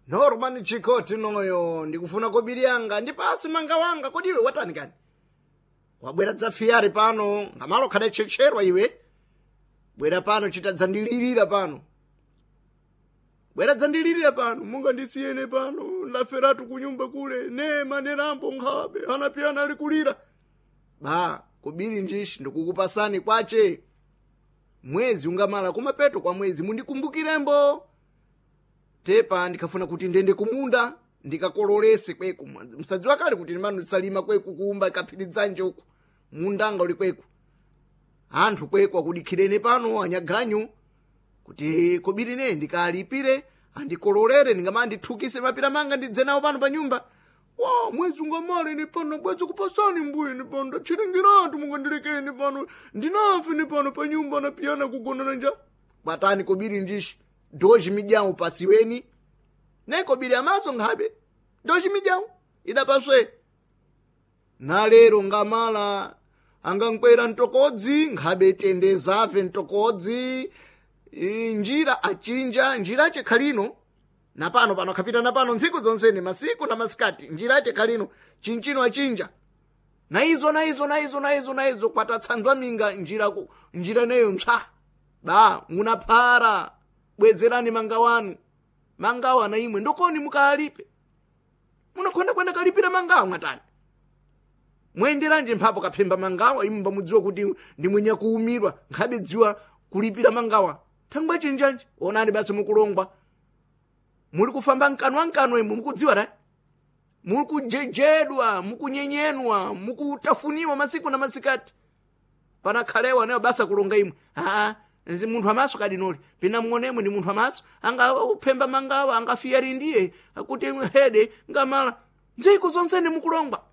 Norman Chikoti noyo ndikufuna kobiri yanga ndipasi manga wanga. Kodi iwe watani kani? Wabwera dzafiyari pano ngamalo khada tchetcherwa iwe. Bwera pano chitadzandilirira pano. Bwera dzandilirira pano mungandisiyene pano ndaferatu kunyumba kule nema nerambo nkhabe anapiyana ali kulira. Ba kobiri njishi ndikukupasani kwache. Mwezi ungamala kumapeto kwa mwezi mundikumbukiремbo. Tepa ndikafuna kuti ndende kumunda ndikakololese kweku. Msadziwa kale kuti ndimano ndisalima kweku kuumba kaphirizanje uku mundanga uli kweku. Anthu kweku akudikhirene pano anyaganyu kuti kobiri ne ndikalipire andikololere ndingama ndithukise mapira manga ndidze nawo pano pa nyumba. Wa mwezi ungamale ni pano bwezi kupasani mbuye ni pano ndatchiringiratu mungandilekeni pano ndinafe ni pano pa nyumba napiyana kugonana nja. Kwatani kobiri njishi doji midyawu pasiweni ne kobiri amaso nkhabe doji midyawu idapaswe. Nalero ngamala angankwera mtokodzi nkhabe tendezave mtokodzi njira achinja njira ache khalino napano pano akhapita napano ntsiku zonsene masiku na masikati njira ache khalino chinchino achinja na izo na izo na izo na izo na izo kwatatsanzwa minga njira ku njira neyo mpsa ba munaphara bwezerani manga wanu mangawo ana imwe ndokoni mukalipe munakhonda kwenda kalipira mangawo mwatani mwenderanje mphapo kaphemba mangawa imwe mbamudziwa kuti ndi mwenye kuumirwa nkhabe dziwa kulipira mangawa thangwe chinjanji onani basi mukulongwa muli kufamba mkanwa mkanwa imwe mukudziwa ra muli kujejedwa mukunyenyenwa mukutafuniwa masiku na masikati panakhalewa nayo basa kulonga imwe aa nzi munthu amaso kadinoli pina muonemwe ndi munthu amaso anga uphemba mangawa angafiyari ndiye akuti hede ngamala ndziko zonsene mukulongwa.